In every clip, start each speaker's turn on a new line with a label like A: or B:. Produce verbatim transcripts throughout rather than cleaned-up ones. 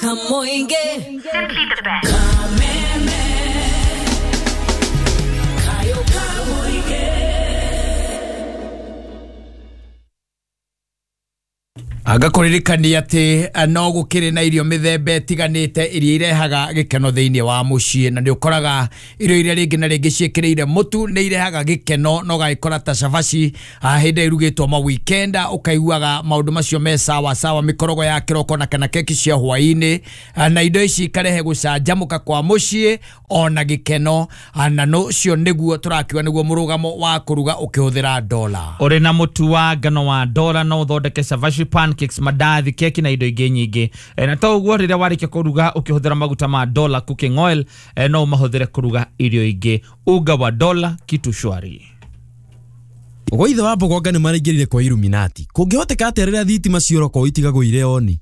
A: Kamoinge. Simply the best. Kameme. Kayo Kamoinge.
B: Agakuririkania ati no gukiri na irio mithemba itiganite iria irehaga gikeno thiini wa mucii na ni ukoraga irio iria ringi na ringi ciikiriire mutu ni irehaga gikeno no gagikora ta cabaci hindi irugitwo ma weekend ukaiguaga maundu macio me sawa sawa mikorogo ya kiroko na kana keki cia hwaini na indo ici ikarehe gucanjamuka kwa mucii ona gikeno na no cio niguo turakiwa niguo murugamo wa kuruga ukihuthira dola
C: uri na mutu wa ngano wa dola no uthondeke cabaci pancakes mandathi keki na indo ingĩ nyingĩ e, na to ũguo rĩrĩa warĩkia kũruga ũkĩhũthĩra maguta ma Dola cooking oil e, no ũmahũthĩre kũruga irio ingĩ. Unga wa Dola kitu shwari.
D: Ũgũithe wa mbogonga nĩ maraingĩrire kwa Illuminati. Kũngĩhoteka atĩa rĩrĩa thitima cioroko itigagwo irĩ oni?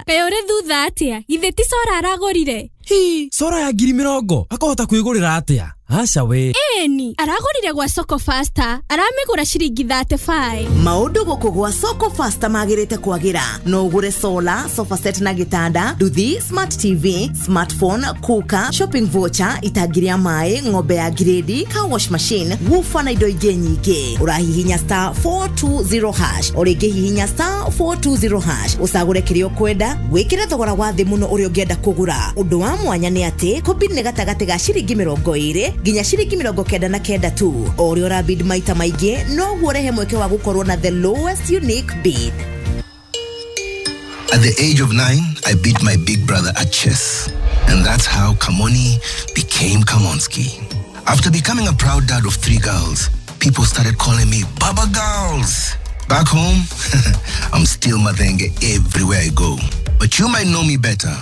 E: Kaĩ ũrĩ thutha atĩa? Githĩ ti cora aragũrire?
D: Hi, cora ya ngiri mĩrongo akahota kwĩgũrĩra atĩa? Aca we.
E: Eni, aragũrire gwa Soko Faster, aramĩgũra ciringi thirty five.
F: Maũndũ gũkũ gwa Soko Faster magĩrĩte kwagĩra. No ũgũre solar, sofa set na gĩtanda, nduthi, smart T V, smartphone, cooker, shopping voucher, itangi rĩa maĩ, ng'ombe ya grade, car wash machine, woofer na indo ingĩ nyingĩ. Ũrahihinya star four two zero hash, o rĩngĩ hihinya star four two zero hash, ũcagũre kĩrĩa ũkwenda, wĩkĩre thogora wa thĩ mũno ũrĩa ũngĩenda kũgũra. Ũndũ wa mwanya nĩ atĩ kũbid nĩ gatagatĩ ga ciringi mĩrongo ĩrĩ nginya ciringi mĩrongo kenda na kenda tu. O ũrĩa ũrabid maita maingĩ noguo ũrehe mweke wa gũkorwo na the lowest unique bid.
G: At the age of nine, I beat my big brother at chess. And that's how Kamoni became Kamonski. After becoming a proud dad of three girls, people started calling me Baba Girls. Back home, I'm still Mathenge everywhere I go. But you might know me better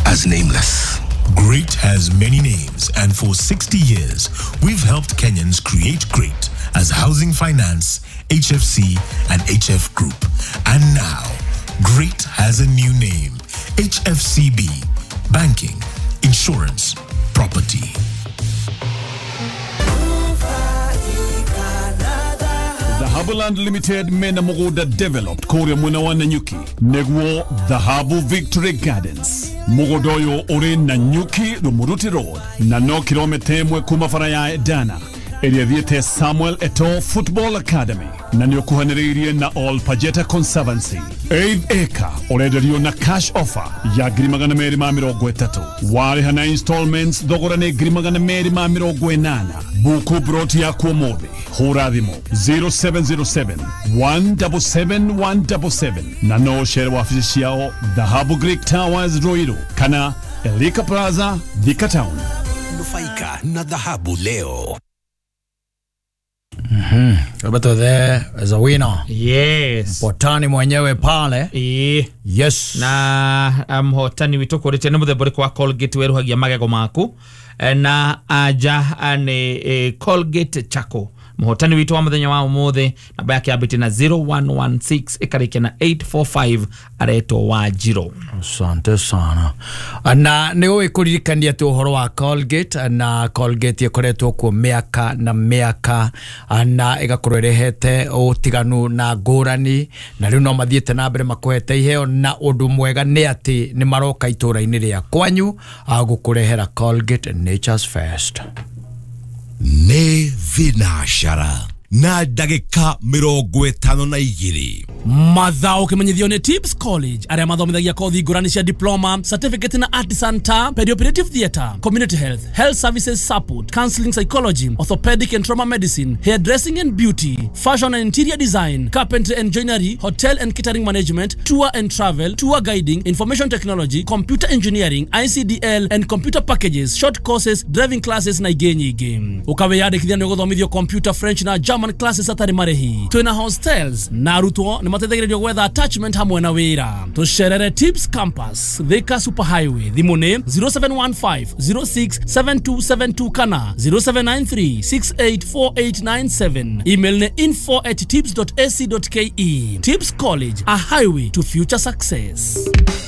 G: as Nameless.
H: Great has many names, and for sixty years, we've helped Kenyans create great as Housing Finance, H F C, and H F Group. And now, Great has a new name, H F C B, Banking, Insurance, Property.
I: Dhahabuland Limited mena mugunda developed kuria mwena wa Nanyuki neguo Dhahabu Victory Gardens. Mugunda uyu uri Nanyuki Rumuruti Road na no kilomita imwe kuma bara ya Dana ĩrĩa thiĩte Samuel Eto'o Football Academy na nĩ ũkuhanĩrĩirie na All Pajeta Conservancy. Eighth acre ũrenderio na cash offer ya ngiri magana merĩ ma mĩrongo ĩtatũ. Warĩha na installments thogora nĩ ngiri magana merĩ ma mĩrongo ĩnana. Buku broti yaku ũmũthĩ hũra thimũ zero seven zero seven one seven seven one seven seven na no ũcere wabici ciao Dhahabu Greek Towers Ruiru kana Elika Plaza Thika Town.
J: Nufaika na Dhahabu leo.
B: Mhm. Roberto there as a winner.
C: Yes.
B: Mpotani mwenyewe pale.
C: E.
B: Yes.
C: Na mhotani witũ kũrĩte nĩ mũthemba ũrĩkũ wa Colgate weruhagia magego maku na aja nĩ e, Colgate Charcoal. Mhotani witũ wa mũthenya wa ũmũthĩ namba yake yambĩtie na zero one one six ĩkarĩkia na eight four five aretwo Wanjirũ.
B: Asante sana. Na nĩ ũĩ kũririkania atĩ ũhoro wa Colgate na Colgate ĩkoretwo kuo mĩaka na mĩaka na ĩgakorwo ĩrehete ũtiganu na ngũrani na rĩu no mathiĩte na mbere makũhete iheo na ũndũ mwega nĩ atĩ nĩ maroka itũũra-inĩ rĩa kwanyu gũkũrehera Colgate Nature's First.
J: Nĩ thinashara na ndagĩka mĩrongo ĩtano na igĩrĩ.
K: Mathao kimenyithio nĩ Tips College arĩa mathomithagia kothi ngũrani cia diploma, certificate na artisan ta perioperative theatre, community health, health services support, counseling psychology, orthopedic and trauma medicine, hairdressing and beauty, fashion and interior design, carpentry and joinery, hotel and catering management, tour and travel, tour guiding, information technology, computer engineering, I C D L and computer packages, short courses, driving classes na ingĩ nyingĩ. Ũkawĩyandĩkithia nĩ ũgũthomithio computer, French na German classes atarĩ marĩhi. Twĩna hostels na arutwo nĩ mateithagĩrĩrio gwetha attachment hamwe na wĩra. Tũcerere Tips Campus, Thika Super Highway. Thimũ nĩ zero seven one five zero six seven two seven two kana zero seven nine three six eight four eight nine seven. Email nĩ info at tips dot a c dot k e. Tips College, a highway to future success.